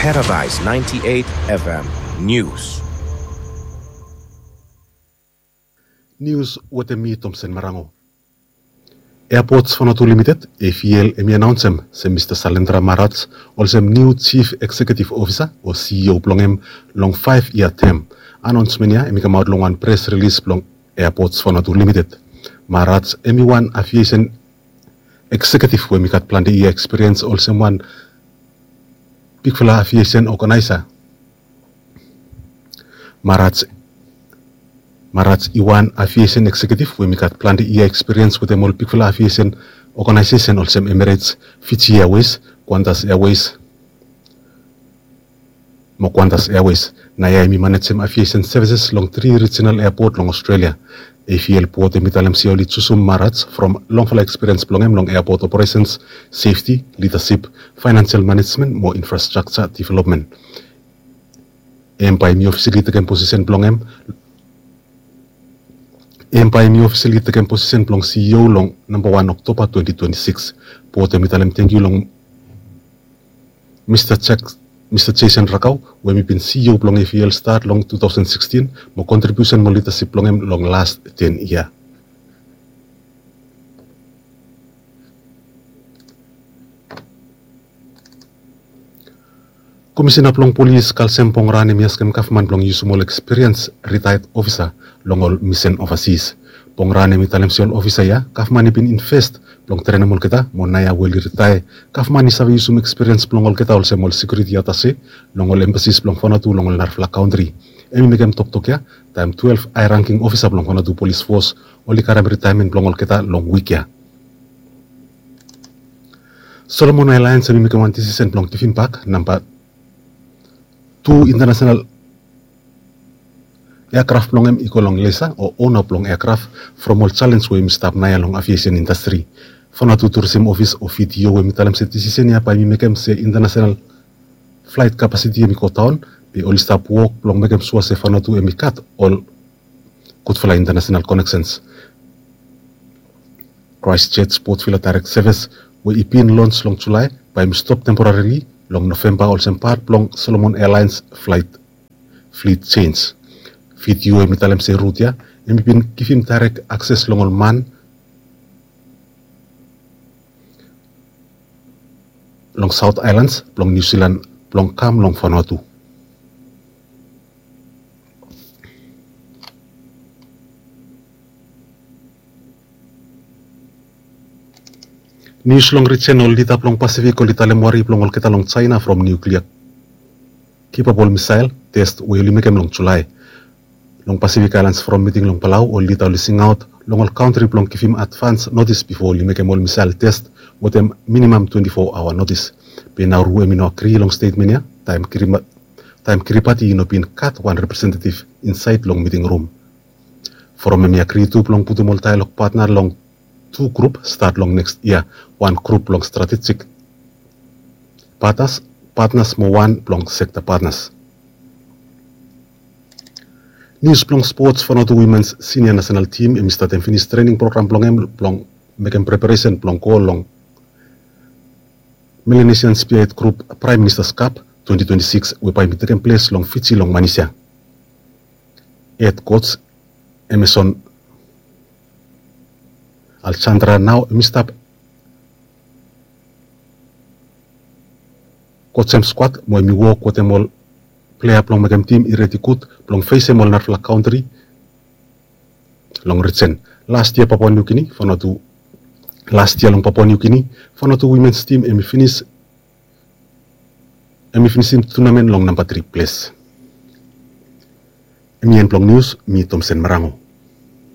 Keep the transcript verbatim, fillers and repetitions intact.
Paradise ninety-eight F M News. Nius wetem mi, Tomsen Marango. Airports Vanuatu Limited, A V L, hemi anaonsem se Mista Salendra Maharaj olsem niu Chief Executive Officer o C E O blong hem long faef yia tem. Anaonsmen ya hemi kamaot long wan pres rilis blong Airports Vanuatu Limited. Maharaj hemi wan aviation executive we hemi gat plante yia ekspiriens olsem wan bigfala aviation oganaesa. Maharaj, Maharaj i wan aviation executive we hemi gat plante yia ekspiriens wetem ol bigfala aviation oganaesesen olsem Emirates, Fiji Airways, Qantas Airways, mo Qantas Airways. Naoia hemi manejem aviation services long tri regional airport long Australia. A V L board hemi talem se oli jusum Maharaj from longfala ekspiriens blong hem long airport operations, safety, leadership, financial management mo infrastructure development. Hem bae hemi officially tekem posisen blong hem, hem bae hemi officially tekem posisen blong C E O long namba wan Oktoba twenty twenty-six. Board hemi talem tangkiu long Mista Jack, Mista Jason Rakau, we hemi bin C E O blong A V L stat long two thousand sixteen, mo kontribiusen mo lidasip blong hem long las ten yia. Komisena blong polis Kalsem Pongrahan hemi askem gavman blong yusum ol ekspiriens ritaed ofisa long ol misen ovasis. Pongrahan hemi talem se ol ofisa ya gavman i bin invest blong trenem olgeta, mo naoia we oli ritae, gavman i save yusum ekspiriens blong olgeta olsem ol sekiuriti atase long ol embasis blong Vanuatu long ol narafala kantri. Hemi mekem toktok ya taem twelve high ranking ofisa blong Vanuatu Polis Fos oli karem ritaemen blong olgeta long wik ya. Solomon Airlines hemi mekem wan disisen blong givim bak namba tu intanasenal eakraf blong hem i go long lesa o ona blong eakraf from ol jalenj we hemi stap naoia long aviation indastri. Vanuatu Tourism Office o V T O hemi talem se disisen ya bae hemi mekem se intanasenal flaet kapasiti hemi go daon, be oli stap wok blong mekem sua se Vanuatu hemi gat ol gudfala intanasenal koneksens. Christchurch Port Vila Direct Service we i bin lons long Julae bae hemi stop temporarili long Novemba olsem pat blong Solomon Airlines flaet flit jenj. V T O hemi talem se rut ya hemi bin givim daerek akses long ol man long South Islands blong New Zealand blong kam long Vanuatu. Nius long rijen, ol lida blong Pasifik oli talem wari blong olgeta long Jaena from nuklia kipap ol misael tes we oli mekem long Julae. Long Pasifik Aelans from miting long Palau, ol lida oli singaot long ol kantri blong givim advans notis bifo oli mekem ol misael tes wetem minimam twenti fo aoa notis. Be Nauru hemi no agri long stetmen ya taem Kiribati i no bin gat wan representetiv insaed long miting rum. Foram hemi agri tu blong putum ol daelog patna long tu grup stat long neks yia, wan grup blong stratejik patnas, patnas mo wan blong sekta patnas. Nius blong spots, Vanuatu wimens sinia nasenal tim hemi statem finis trening program blong hem blong mekem preparesen blong go long Melanesian Spearhead Group Prime Minister's Cup twenty twenty-six we bae hemi tekem ples long Fiji long Manis ya. Hed coach Emerson Alexandra nao hemi stap kojem skuad mo hemi wok wetem ol plea blong mekem tim i redi gud blong fesem ol narafala kantri long rijen. Las yia Papua New Guinea, Vanuatu, las yia long Papua New Guinea, Vanuatu wimens tim hemi finis, hemi finisim tunamen long namba tri ples. Hemi en blong nius, mi Tomsen Marango.